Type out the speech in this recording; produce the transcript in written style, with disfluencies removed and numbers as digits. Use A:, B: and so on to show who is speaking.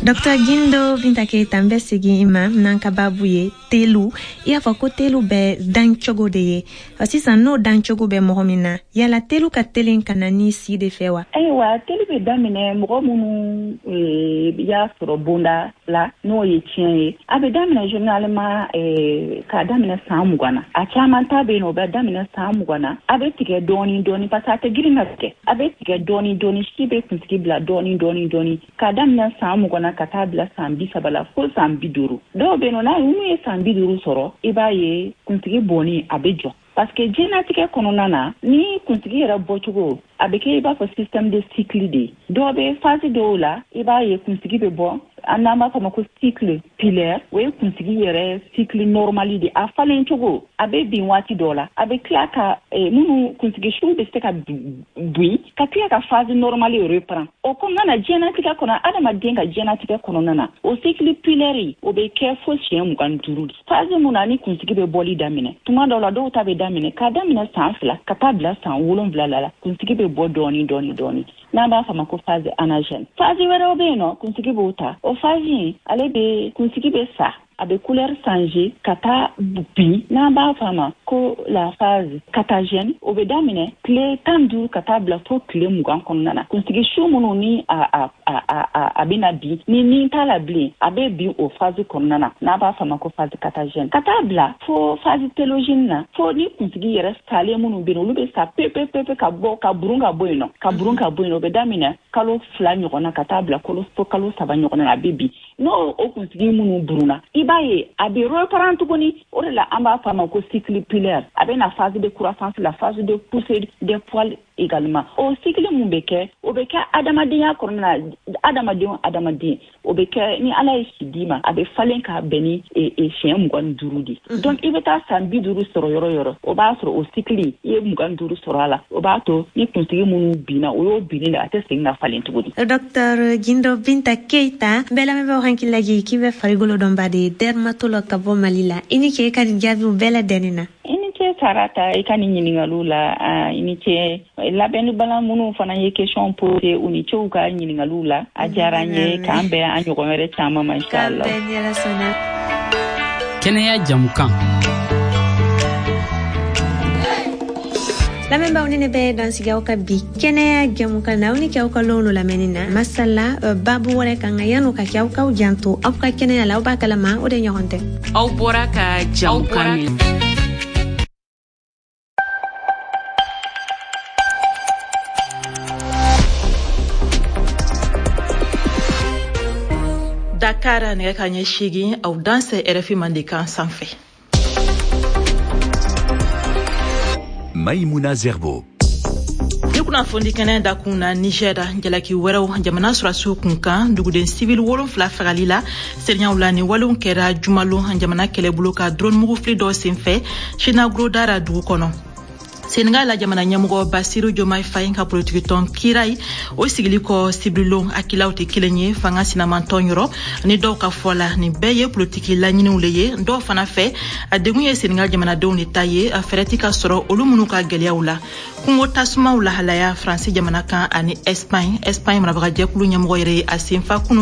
A: Dr Gindo Binta Keita, n bɛ segin i ma n'an ka baabu ye telu. I y'a fɔ ko telu bɛ dan cogo de ye. Sisan, n'o dan cogo bɛ mɔgɔ min na, yala telu ka telen ka na ni si de fɛ wa?
B: Ayiwa, telu bɛ daminɛ mɔgɔ minnu y'a sɔrɔ bonda la, n'o ye tiɲɛ ye. A bɛ daminɛ généralement k'a daminɛ san 20 na. A caman ta bɛ yen nɔ, o bɛ daminɛ san 20 na. A bɛ tigɛ dɔɔni dɔɔni, parce que a tɛ girin ka tigɛ. A bɛ tigɛ dɔɔni dɔɔni, si bɛ kunsigi bila dɔɔni dɔɔni dɔɔni, k'a daminɛ san 20 na ka taa bila san 30 la, fo san 50. Dɔw bɛ yen nɔ, n'a minnu ye san 50 sɔrɔ, i b'a ye kunsigi bɔnni a bɛ jɔ, parce que diɲɛnatigɛ kɔnɔna na, ni kunsigi yɛrɛ bɔcogo a bɛ kɛ i b'a fɔ système de cycle de ye. Dɔw bɛ phase dɔw la, i b'a ye kunsigi bɛ bɔ, an n'an b'a fɔ ma ko cycle pilaire. O ye kunsigi yɛrɛ cycle normal de, a falen cogo. A bɛ bin waati dɔw la, a bɛ tila ka minnu kunsigi siw bɛ se ka bin, ka tila ka phase normale reprend o kɔnɔna na. Diɲɛnatigɛ kɔnɔ, adamaden ka diɲɛnatigɛ kɔnɔna na, o cycle pilaire, o bɛ kɛ fo siɲɛ 25 de. Phase mun na ni kunsigi bɛ bɔli daminɛ, tuma dɔw la, dɔw ta bɛ daminɛ k'a daminɛ san 2 ka taa bila san 7 la, kunsigi bɛ bɔ dɔɔni dɔɔni dɔɔni, n'an b'a fɔ ma ko phase anagène. Phase wɛrɛw bɛ yen nɔ, kunsigi b'o ta. O phase in, ale bɛ kunsigi bɛ sa, a bɛ couleur changer ka taa bin, n'an b'a fɔ a ma ko la phase catagène. O bɛ daminɛ tile 15 ka taa bila fo tile 20 kɔnɔna na. Kunsigi su minnu ni a bɛna bin, ni t'a la bilen, a bɛ bin o phase kɔnɔna na, n'a b'a fɔ a ma ko phase catagène, ka taa bila fo phase télogène na, fo ni kunsigi yɛrɛ salen minnu bɛ yen, olu bɛ sa pewu pewu pewu, ka bɔ, ka burun ka bɔ yen nɔ, ka burun ka bɔ yen nɔ. O bɛ daminɛ kalo 2 ɲɔgɔn na ka taa bila fo kalo 3 ɲɔgɔn na, a bɛ bin. N'o o kunsigi minnu burunna, i b'a ye a bɛ reprend tuguni. O de la an b'a fɔ a ma ko cycle pilaire. A bɛ na phase de croissance, la phase de poussée des poils également. O cycle mun bɛ kɛ, o bɛ kɛ adamadenya kɔnɔna na. Adamaden o adamaden, o bɛ kɛ ni Ala ye si d'i ma, a bɛ falen k'a bɛn ni siɲɛ 25 de. Donc i bɛ taa san 50 sɔrɔ yɔrɔ yɔrɔ, o b'a sɔrɔ o cycle i ye 25 sɔrɔ a la. O b'a to ni kunsigi minnu binna, o y'o binni de, a tɛ segin ka falen tuguni.
A: Docteur Gindo Binta Keita, bɛɛ lamɛnbagaw hakili lajigin k'i bɛ farikolo dɔnba de ye, dermatologue ka bɔ Mali la. I ni ce i ka nin jaabiw bɛɛ lajɛlen na.
B: I ni ce Sarata, i ka nin ɲininkaliw la. I ni ce labɛnnibala minnu fana ye question posé, u ni ce u ka ɲininkaliw la. A diyara n ye. K'an bɛn an ɲɔgɔn wɛrɛ caman ma, inchallah.
C: Kɛnɛya jamukan.
A: Lamɛnbaaw, ni ne bɛ dansigi aw ka bi kɛnɛya jamukan na. Aw ni kɛ aw ka lon lamɛnni na masala babu wɛrɛ kan. Ka yan'o ka kɛ, aw k'aw janto aw ka kɛnɛya la. Aw b'a kalama, o de ɲɔgɔn tɛ.
C: Aw bɔra ka jamukan min.
D: Dakar, nɛgɛ ka ɲɛ 8. Aw dansɛ RFI Mandenkan sanfɛ.
E: Maïmouna Zerbo.
D: Ni kunnafoni kɛnɛ dakun na, Niger, jalaki wɛrɛw jamana sɔrɔdasiw kun kan, duguden sivil 7 fagali la seereyaw la. Ni walew kɛra jumalon, jamana kɛlɛbolo ka drone mugufili dɔ senfɛ Chinagrodara dugu kɔnɔ. Senegal la, jamana ɲɛmɔgɔ Basiru Jomai Faye ka politikitɔn Kirai, o sigili kɔ sibirilon, akilaw tɛ kelen ye fanga sinamantɔn yɔrɔ. Ni dɔw ka fɔ la, nin bɛɛ ye politiki laɲiniw le ye. Dɔw fana fɛ, a degun ye Senegal jamanadenw de ta ye, a fɛɛrɛ ti ka sɔrɔ olu minnu ka gwɛlɛyaw la. Kungo tasumaw lahalaya Faransi jamana kan ani Espagne, Espagne marabagajɛkulu ɲɛmɔgɔ yɛrɛ ye a senfa kunu.